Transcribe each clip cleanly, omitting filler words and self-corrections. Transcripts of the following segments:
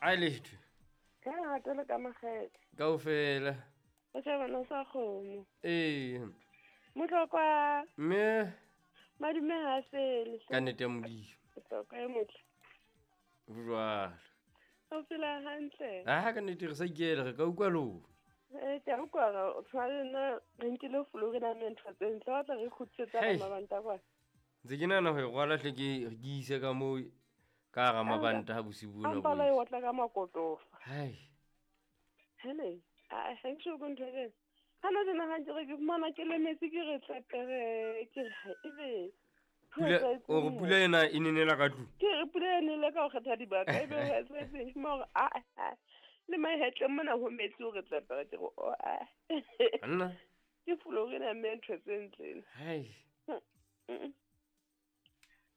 A letho. Ka lerato le ka makgethe. Kaofela. O shebana sa kgomo. Ee. Motlokwa. Mme. Madume ha sele. Ka nnete ya Modimo. Motlokwa e motle. Jwalo. O phela hantle. Ah, ka nnete re sa ikela re ka utlwa lona. Eh, ke a utlwa re o tshwana le nna re nkile flu re na le ntho tse ntle wa tla re kgutlisetsa Hei. mabanta kwa. Ntse ke nahana ho e rwala hle ke ise ka moo ka hara mabanta ha bosiu bona A mpala e bo. otla ka makotofa. Hai. Hele, a ha ke sho ntho e. Hana jena ha ke re ke fumana ke lemetse ke re tlepere ke re ha ebe. Pula o re pula ena e nenela ka tlung. Ke re pula e nele ka ho kgetha dibaka ebe o etsetse mo hore a a le mahetleng mona ho metsi o re tlepere ke re o a. Anna. Ke flu re na mme ntho tse ntle. Hai.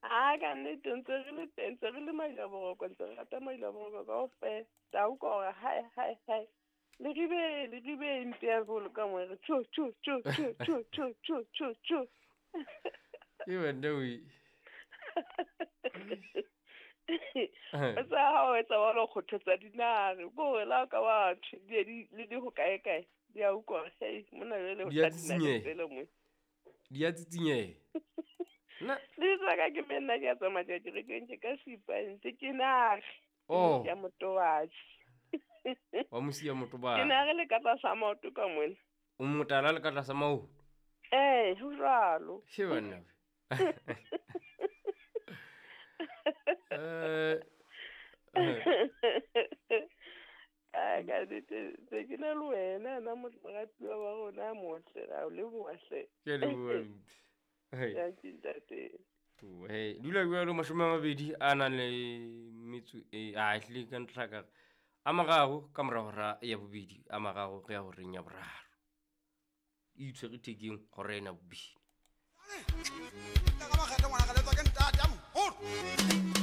A ka nnete ntse re le teng ntse re le maila boroko ntse re rata maila boroko kaofela. Tla utlwa hore hai hai hai. Le ribe mpe ya bolo ka mo re tjho tjho tjho tjho tjho tjho tjho tjho tjho. Ke wena o e. O sa ha o etsa wa lo kgothatsa dinare ko re la ka wa thwe di di le di ho kae kae di a utlwa hore hei mona jwale ho Di a tla dinare tsitsinyeha. tsele mo. Di a tsitsinyeha. Nna Le tsaka ke me nna ke a tsamaya kerekeng ke ka sipa ntse ke nare. Oh. Ya motobatsi. Wa mosia motobana. Ke nare le ka tlasa maoto ka mona. O motala le ka tlasa maoto. Eh, ho jwalo. She banna. Eh. Ka ka nnete ntse ke na le wena nna moratuwa wa rona a motle ra o leboha hle. Ke a leboha mphi. Hei. Dankie ntate. Hey, dula jwalo 20 a nang le metso e a ehlile ka ntlha ka a mararo ka mora hora ya bobedi a mararo re ya horeng ya boraro. E itshwere thekeng hora ena bobedi. Ka makgethe ngwana ka letswa ke ntate a moholo.